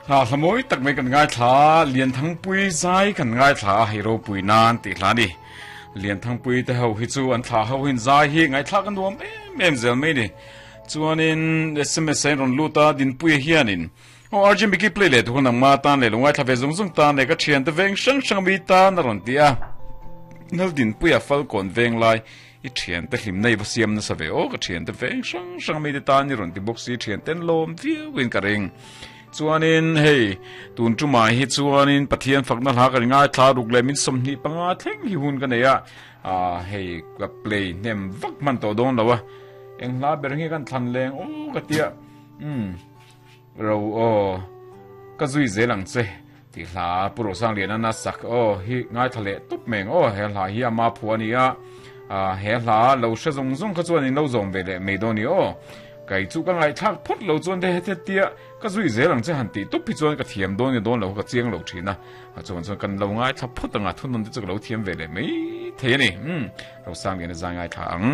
Hla hla mawi tak mai kan ngaithla, Lianthangpui zai kan ngaithla a, hei ropui nan tih hla a ni. Lianthangpui te ho hi chu an thla ho hin zai hi ngaihthlak a nuam em em zel mai ni. Chuanin sms a in rawn lut a, Dinpuia hianin Aw RJ Mickey play leh tur nangma tan leh lo ngaithla ve zung zung tan leh ka thiante veng hrang hrang mi tan a rawn ti a. Nal Dinpuia Falkawn veng lai I thiante hlimna i va siam nasa ve aw ka thiante veng hrang hrang mite tan i rawn ti bawk si thianten lawm viau in ka ring. Chuanin hei tun tumah hi chuanin Pathian fakna hla kan ngaithla ruk leh min 25 thleng hi hun ka nei a, ah hei ka play hnem vak hman tawh dawn lo a, eng hla ber nge kan thlan leng aw ka tia umm ro aw ka zui zel ang che. Tih hla Pu Rosangliana na sak aw hi ngaithla leh tup mai ang aw he hla hi ama phu a ni a ah he hla lo hre zawng zawng kha chuan in lo zawm ve leh mai dawn ni aw kei chu ka ngaihthlak phawt lo chuan te hete tia ka zui zel ang che han tih tup hi chuan ka thiam dawn nge dawn lo ka chiang lo thin a a chuan chuan kan lo ngaithla phawt ang a thunawn te chu ka lo thiam ve leh mai thei a ni umm Rosangliana zai ngaithla ang.